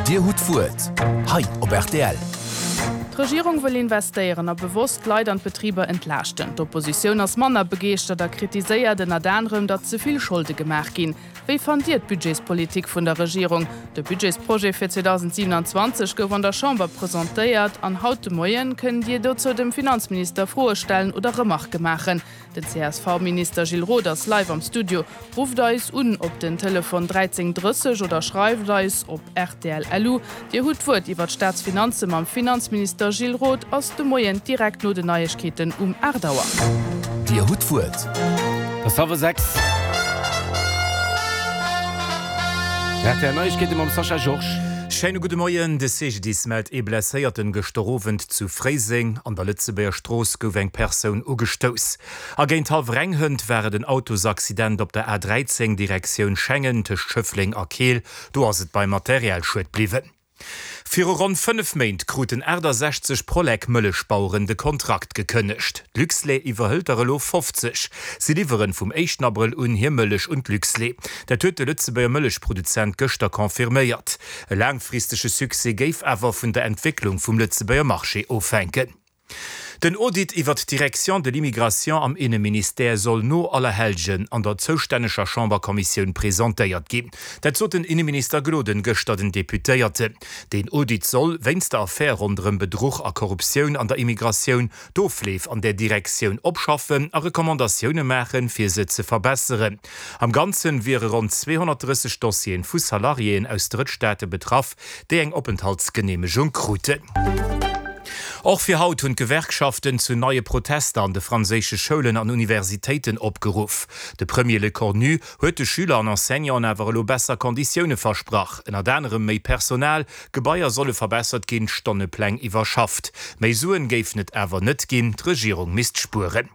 Dir hutt d'Wuert hei op rtl. D'Regierung wëll investéieren a bewosst d'Leit an d'Betriber entlaaschten. D'Oppositioun ass manner begeeschtert a kritiséiert ënnert anerem, datt ze vill Scholde gemaach ginn. Wéi fannt Dir d'Budgetspolitik vun der Regierung? De Budgetsprojet fir 2027 gouf an der Chamber presentéiert an haut de Moien kënnt Dir dozou dem Finanzminister Froe stellen oder Remarke maachen. Den CSV-Minister Gilles Roth ass live am Studio. Rufft eis un op den Telefon 13 30 oder schreift eis op rtl.lu. Dir hutt d'Wuert iwwer d'Staatsfinanze mam Finanzminister Gilles Roth ass de Moien direkt no den Neiegkeeten um 8 Auer. Dir hutt d'Wuert. Et ass hallwer 6. Rtl Neiegkeete mam Sascha Georges. Schéine gudde Moien. De CGDIS mellt ee Blesséierten gëschter Owend zu Fréiseng. An der Lëtzebuerger Strooss gouf eng Persoun ugestouss. A géint hallwer eng hënt war et en Autosaccident op der A13 Direktioun Schengen tëscht Schëffleng a Keel. Do ass et beim Materialschued bliwwen. Viru ronn 5 Méint kruten 68 Prolec-Mëllechbaueren de Kontrakt gekënnegt. D'Luxlait iwwerhëlt der elo 50. Si liwweren vum éischten Abrëll un hir Mëllech un d'Luxlait. Dat huet de Lëtzebuerger Mëllechproduzent gëschter confirméiert. E laangfristege Succès géif awer vun der Entwécklung vum Lëtzebuerger Marché ofhänken. Den Audit iwwert d'Direction de l'immigration am Inneministère soll no Allerhellgen an der zoustänneger Chamberkommissioun presentéiert ginn. Dat sot den Inneminister Gloden gëschter den Deputéierten. Deen Audit soll, wéinst der Affär ronderëm Bedruch a Korruptioun an der Immigratioun, d'Ofleef an där Direktioun opschaffen a Recommandatioune maachen, fir se ze verbesseren. Am Ganzen wiere ronn 230 Dossieren vu Salariéen aus Drëttstaate betraff, déi eng Openthaltsgeneemegung kruten. Och fir haut hunn d'Gewerkschaften zu neie Protester an de franséische Schoulen an Universitéiten opgeruff. De Premier Lecornu huet de Schüler an Enseignanten awer elo besser Konditioune versprach, ënnert anerem méi Personal, Gebaier solle verbessert ginn, d'Stonnepläng iwwerschafft. Méi Suen géifen et awer net ginn, d'Regierung misst spueren.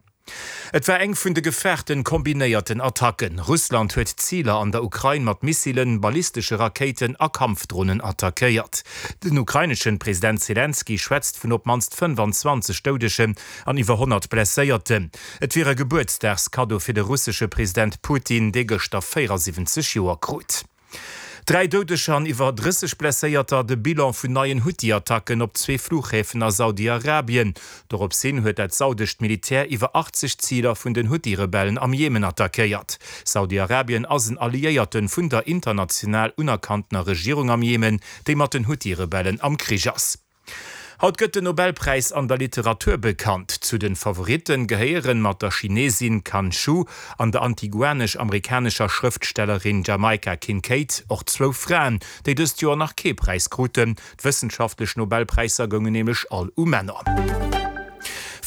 Et war eng vun de gefaarten kombinéierten Attacken. Russland huet Ziler an der Ukrain mat Missilen, ballistesche Rakéiten a Kampfdronen attackéiert. Den ukraineschen President Selenskyj schwätzt vun op d'mannst 25 Doudegen an iwwer 100 Blesséierten. Et wier e Gebuertsdagskaddo fir de russesche President Putin, dee gëschter 74 Joer krut. Dräi Doudeger an iwwer 30 Blesséierter, de Bilan vun neien Huthi-Attacken op zwee Fluchhäfen a Saudi-Arabien. Dorops hin huet dat saudescht Militär iwwer 80 Ziler vun den Huthi-Rebellen am Jemen attackéiert. Saudi-Arabien ass en Alliéierte vun der international unerkanntener Regierung am Jemen, déi mat den Huthi-Rebellen am Krich ass. Haut gëtt den Nobelpräis an der Literatur bekannt. Zu den Favoritten gehéieren mat der Chinesin Kan Shu an der antiguanesch-amerikanescher Schrëftstellerin Jamaica Kincaid och zwou Fraen, déi dëst Joer nach kee Präis kruten. D'wëssenschaftlech Nobelpräisser goungen nämlech all u Männer.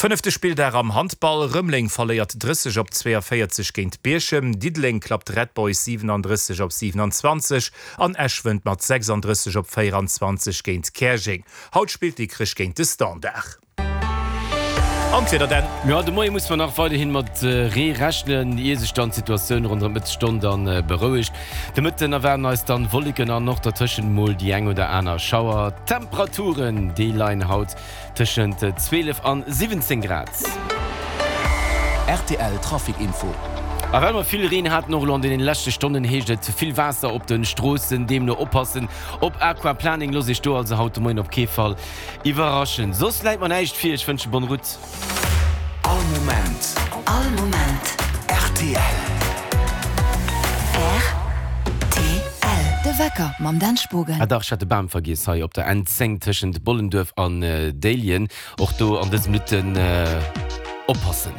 Fënnefte Spilldag am Handball, Rëmeleng verléiert 30 op 42 géint Bierchem, Diddeleng klappt Red Boys 37 op 27. An Esch wënnt mat 36 op 24 géint Käerjeng. Haut spillt Dikrech géint de Standard. An d'Wieder denn? Jo, de Moie musse mer nach weiderhin mat Ree rechnen, ier sech dann d'Situatioun ronderëm d'Mëttesstonn dann berouegt. De Mëtten erwaarden eis dann Wolleken an och dertëschent mol déi eng oder aner Schauer. D'Temperaturen, déi leien haut Tëschent 12 an 17 Grad. Rtl Trafic Info. A well mer vill Reen haten, och elo an deenen leschte Stonnen, heescht et vill Waasser op den Stroossen, deemno oppassen op Aquaplaning. Loosst iech do also haut de Moien op kee Fall iwwerraschen. Soss läit mer näischt vir, ech wënsche bonne route. All Moment. All Moment. Rtl. Rtl. De Wecker mam Dan Spogen. Ah dach, ech hat de Bam vergiess hei op der N10 tëschent Bollenduerf an Déiljen. Och do an dëse Minutten oppassen.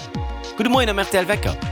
Gudde Moien am rtl Wecker.